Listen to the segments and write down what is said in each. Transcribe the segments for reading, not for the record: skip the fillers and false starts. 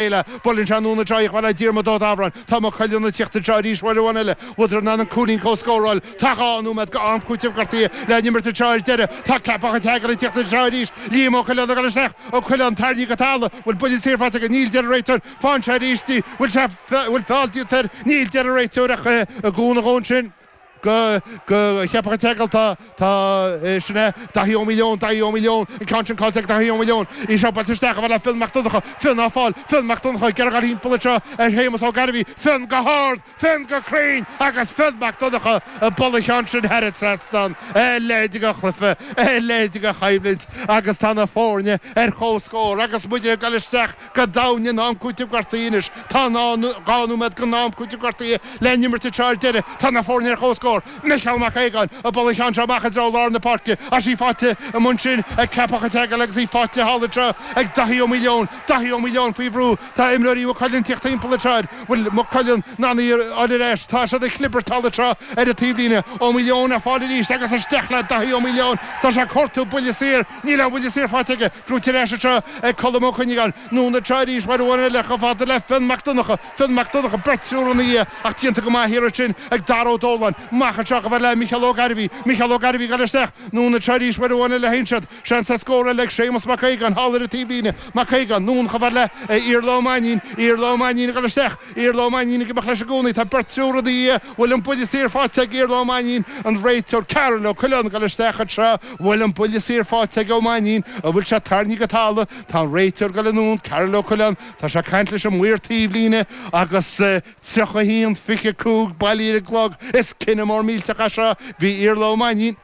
Chéile. Buaileann sé anonn anseo í chomh fada le Diarmuid Ó Dábhráin. Tá Maigh Cuilinn ag tíocht anseo arís uair amháin eile. Bhfuileadar in ann an cúilín a chomhscóráil. Tá 2 nóiméad go am cúitimh gortaithe le n-imirt anseo ar deireadh. Tá Ceapach an tSeagail ag tíocht anseo arís. Liam Ó Coileáin ag dul isteach. Ó Coileáin tarraingthe go talamh. Bhfuil buille saor faighte aige? Níl, deir an réiteoir. Faigheann sé arís í. Bhfuil sé, bhfuil feall déanta air? Níl, deir an réiteoir ach i gcúnamh dhó ansin. Go, go, Cheapach an tSeagail, tá, tá, sin é, Daithí Ó Maoileoin, Daithí Ó Maoileoin, an ceann sin caillte ag Daithí Ó Maoileoin, í seo buailte isteach chomh fada le Fionn Mac Donncha, Fionn á fáil, Fionn Mac Donncha ag iarraidh a dhul thimpeall anseo ar Shéamus Ó Gairbhí, Fionn go hard, Fionn go cruinn agus Fionn Mac Donncha ag bualadh an cheann sin thar an trasnán, a leithéid de chluiche, a leithéid de choimhlint agus tá na foirne ar comhscór agus muid ag dul isteach Go domhain in am cúitimh gortaithe anois. Tá 2 nóiméad den am cúitimh gortaithe le n-imirt anseo ar deireadh. Tá na foirne ar comhscór. Micheál Mac Aogáin ag bualadh an cheann seo amach i dtreo lár na páirce. Is í faighte amuigh ansin ag Ceapach an tSeagail agus í faighte thall anseo ag Daithí Ó Maoileoin. Daithí Ó Maoileoin faoi bhrú. Tá imreoirí Mhaigh Cuilinn ag tíocht timpeall anseo air. Bhfuil Maigh Cuilinn in ann í a fháil ar ais? Tá siad ag clibirt thall anseo ar an taobhlíne. Ó Maoileoin á fáil arís agus isteach le Daithí Ó Maoileoin. Tá sé ag cuartú buille saor. Níl aon bhuille saor faighte aige. Gnóthaithe ar ais anseo ag Colm Ó Cuinneagáin. Anonn anseo arís uair amháin eile chomh fada le Fionn Mac Donncha. Fionn Mac Donncha, beirt triúr ina dhiaidh ach déanta go maith thiar ansin ag Dara Ó Dóláin. Amach anseo chomh fada le Micheál Ó Gairbhí. Micheál Ó Gairbhí ag dul isteach. Anonn anseo arís uair amháin eile théann siad. Seans ar scór eile ag Séamus Mac Aogáin thall ar an taobhlíne. Mac Aogáin, anonn chomh fada le Iarla Ó Mainnín. Iarla Ó Mainnín ag dul isteach. Iarla Ó Mainnín ag imeacht leis i gcónaí. Tá beirt triúr ina dhiaidh. Bhfuil an buille saor faighte ag Iarla Ó Mainnín? An réiteoir Karol Ó Coileáin ag dul isteach anseo. Bhfuil an buille saor faighte ag Ó Mainnín? An bhfuil sé tarraingthe go talamh? Tá an réiteoir ag dul anonn, Karol Ó Coileáin. Tá sé ag caint leis an maor taobhlíne agus 31, 25 bailithe ar an gclog. Is cinneadh mór millteach é seo. Bhí Iarla Ó Mainnín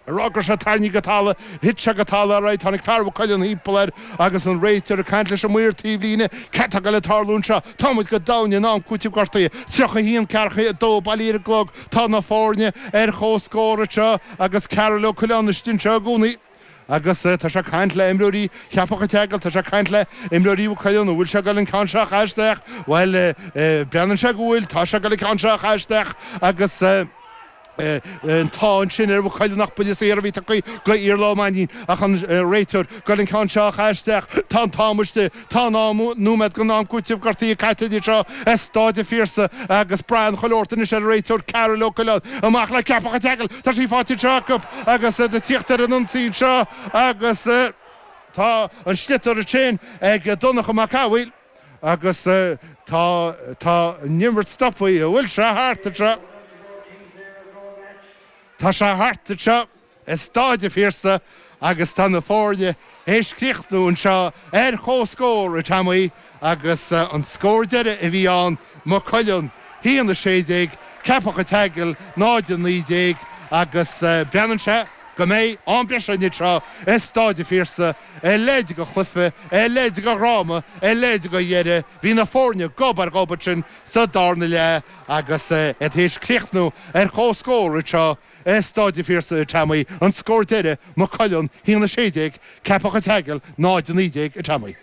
ag rá go raibh sé tarraingthe go talamh. Thit sé go talamh alright. Tháinig fear Mhaigh Cuilinn thimpeall air agus an réiteoir ag caint leis an maor taobhlíne. Cad tá ag dul ag tarlú anseo? Tá muid go domhain in am cúitimh gortaithe. 31, 42 bailithe ar an gclog. Tá na foirne ar comhscór anseo agus Karol Ó Coileáin istigh anseo i gcónaí agus tá sé ag caint le imreoirí Cheapach an tSeagail, tá sé ag caint le imreoirí Mhaigh Cuilinn, an bhfuil sé ag dul an ceann seo a chaitheamh isteach? Bhuel, breathnaíonn sé go bhfuil, tá sé ag dul an ceann seo a chaitheamh isteach agus an t-ádh ansin ar Mhaigh Cuilinn nach buille saor a bhí tugtha go Iarla Ó Mainnín ach an réiteoir ag dul an ceann seo a chaitheamh isteach. Tá an t-am istigh. Tá 2 nóiméad den am cúitimh gortaithe caite anseo i Stáid an Phiarsaigh agus braitheann chuile shórt anois ar an réiteoir Karol Ó Coileáin. Amach le Ceapach an tSeagail. Tá sí faighte anseo acu agus iad ag tíocht ar an ionsaí anseo agus tá an sliotar ansin ag Donncha Mac Cathmhaoil agus tá tá an imirt stoptha. An bhfuil sé thart anseo? Tá sé thart anseo. i Stáid an Phiarsaigh agus tá na foirne théis críochnú anseo ar comhscór, a Tommy, agus an scór deiridh a bhí ann, Maigh Cuilinn 1, 16, Ceapach an tSeagail 0, 19 agus breathnaíonn sé go mbeidh am breise anseo i Stáid an Phiarsaigh, a leithéid de chluiche, a leithéid de dhráma, a leithéid de dheireadh. Bhí na foirne gob ar ghob ansin sa darna leath agus iad théis críochnú ar comhscór anseo I Stáid an Phiarsaigh, a Tommy, an scór deiridh, Maigh Cuilinn 1, 16, Ceapach an tSeagail 0, 19, a Tommy.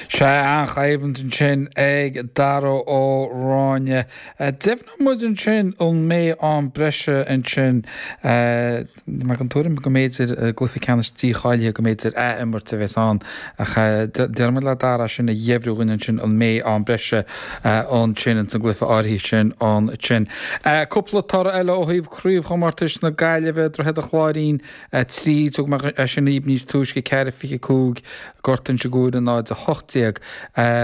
Sea, an-choimhlint ansin ag Dara Ó Ráinne. Deimhneoidh muid ansin an mbeidh am breise ansin. Tá mé den tuairim go mb'fhéidir i gcluiche ceannais dícháilithe go mb'fhéidir ath-imirt a bheas ann ach déarfaidh muid le Dara sin a dheimhniú dhúinn ansin an mbeidh am breise ansin ins an gcluiche áirithe sin ansin. Cúpla toradh eile ó thaobh Craobhchomórtais na Gaillimhe, Droichead an Chláirín 3, thug mé é sin dhaoibh níos túisce, 4, 25, Gort Inse Guaire 0, 18.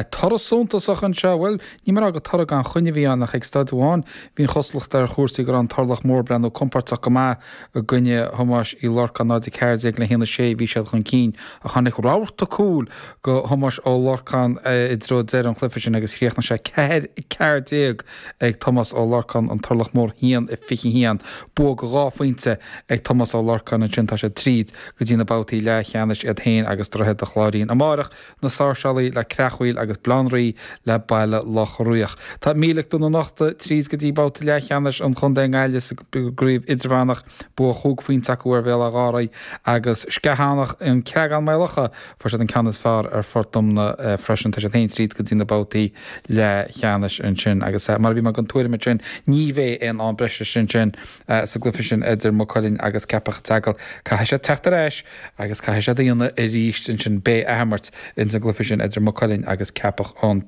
Toradh suntasach anseo, bhuel, Ní mé a rá gur toradh gan choinne a bhí ann ach ag staid amháin bhí an chosúlacht ar chúrsaí go raibh an Turlach Mór ag breathnú compóirteach go maith i gcoinne Thomáis Uí Lorcáin, 0-14 le 1-6 bhí siad chun cinn ach tháinig rabharta cúil go Thomás Ó Lorcáin i dtreo deireadh an chluiche sin agus chríochnaigh sé 4-14 ag Tomás Ó Lorcáin, an Turlach Mór 1-21. Bua go dhá phointe ag Tomás Ó Lorcáin ansin tá siad tríd go dtí na babhtaí leathcheannais iad féin agus Droichead a' Chláirín amárach. Na Sáirséalaigh le Creachmhaoil agus Baile Átha an Rí le Baile Locha Riach. Tá Mílic Dún an Uchta tríd go dtí babhta leathcheannais an chontae i nGaillimh sa gcraobh idirmheánach. Bua chúig phointe acu ar Bhéal Átha Ghaorthaidh agus Sceathánach an Creagán Maigh Locha fuair siad an ceann is fearr ar Phort Omna freisin. Tá siad féin tríd go dtí na babhtaí leathcheannais ansin agus mar a bhí mé den tuairim ansin ní bheidh aon am breise ansin sa gcluiche sin idir Maigh Cuilinn agus Ceapach an tSeagail. Caithfidh siad teacht ar ais agus caithfidh siad a dhéanamh arís ansin. Beidh athimirt ins an gcluiche sin. sin idir Maigh Cuilinn agus Ceapach an.